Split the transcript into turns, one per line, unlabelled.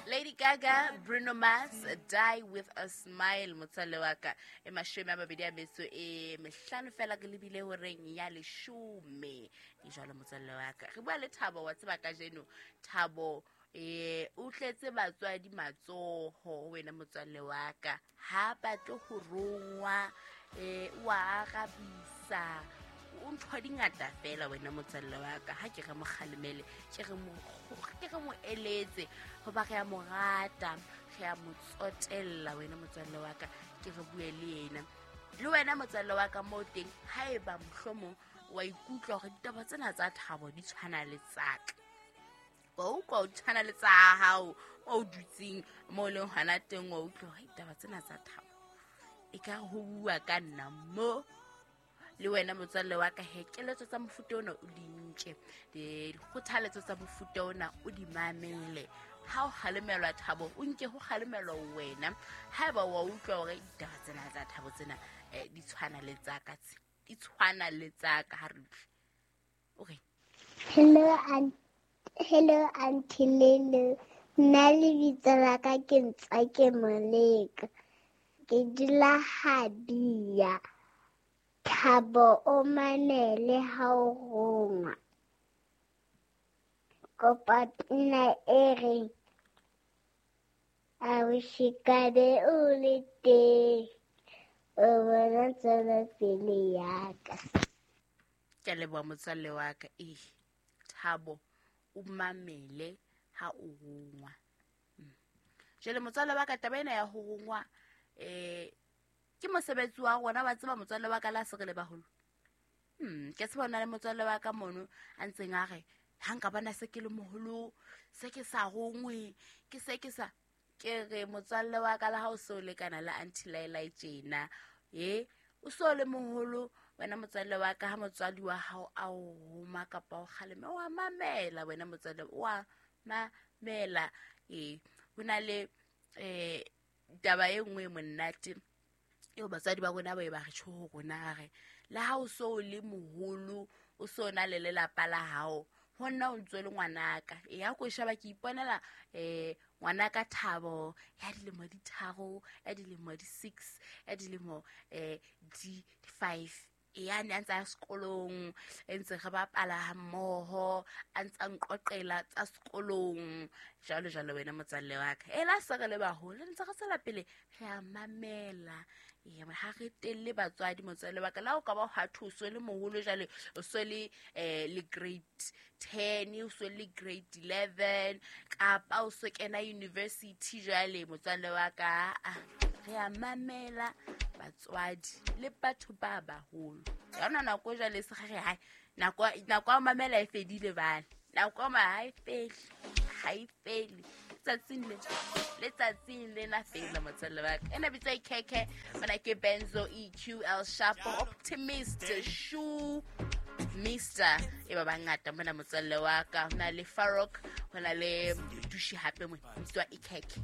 Lady Gaga, Bruno Mars, Die with a Smile. Motswalle wa ka, e 25 fela ke lebile horeng ya 10. E jwalo motswalle wa ka, re bua le Thabo wa tseba kajeno. Thabo o tletse batswadi matsoho, wena motswalle wa ka, ha batle ho rongwa, wa arabisa, o ntho di ngata fela wena motswalle wa ka. Ha ke re mo kgalemele, ke re mo eletse, hoba re a mo rata, re a mo tsotella wena motswalle wa ka. Ke re bue le yena, le wena motswalle wa ka moo teng, haeba mohlomong wa ikutlwa hore ditaba tsena tsa Thabo di tshwana le tsaka, wa utlwa o tshwana le tsa hao o dutseng mo leng hona teng, wa utlwa hore ditaba tsena tsa Thabo e ka ho bua ka nna mo. Le wena motswalle wa ka, he, keletso tsa mofuta ona o di nke, dikgothaletso tsa mofuta ona o di mamele. Ha o kgalemelwa Thabo, o nke ho kgalemelwa wena. Haeba wa utlwa hore ditaba tsena tsa Thabo tsena di tshwana le tsa ka, di tshwana le tsa ka, ha re utlwe. Okay.
Hello Auntie Lulu. Nna lebitso la ka ke Ntswake Moleko. Ke dula Habia. Thabo o mamele ha o rongwa. Kopa pina e reng I wish ka be o le teng, o bona tswelopele ya ka.
Ke a leboha motswalle wa ka. Thabo o mamele ha o rongwa. Jwale motswalle wa ka, taba ena ya ho rongwa ke mosebetsi wa rona, wa tseba motswalle wa ka, la se re le baholo. Ke tseba hona le motswalle wa ka mono a ntseng a re ha nka bona se ke le moholo, se ke sa rongwe, ke se ke sa, ke re motswalle wa ka, le ha o so lekana le Auntie Laila tjena, o so le moholo wena motswalle wa ka, ha motswadi wa hao a o roma kapa o kgalema, wa mamela wena motswalle, wa mamela. Ho na le taba e nngwe monate eo batswadi ba rona ba e ba re tjho ho rona, re le ha o so le moholo, o so na le lelapa la hao, ho nna o ntse le ngwanaka. Ya ko sheba, ke iponela ngwanaka Thabo ya dilemo di 3, ya dilemo di 6, ya dilemo di 5. Ya ne a ntse a sekolong, ntse re bapala ha mmoho, a ntse a nqoqela tsa sekolong, jwalo jwalo wena motswalle wa ka. La se re le baholo, ntse re tswela pele re a mamela. Ha re telle batswadi motswalle wa ka. La o ka ba ha thuso le moholo jwale, o so le le grade 10, o so le grade 11, kapa o so kena university jwale motswalle wa ka. Re a mamela batswadi le batho ba baholo. Ya ona nako jwale se re hai, nako ya mamela e fedile bana. Nako ma ha e fele, ha e fele. Letsatsing le na fela motswalle wa ka. Ena bitsa ikhekhe, mona ke Benzo EQL Sharp Optimist Shoe Mister e ba bangata mona motswalle wa ka. Hona le Farok, hona le Dushi hape mo bitswa ikhekhe.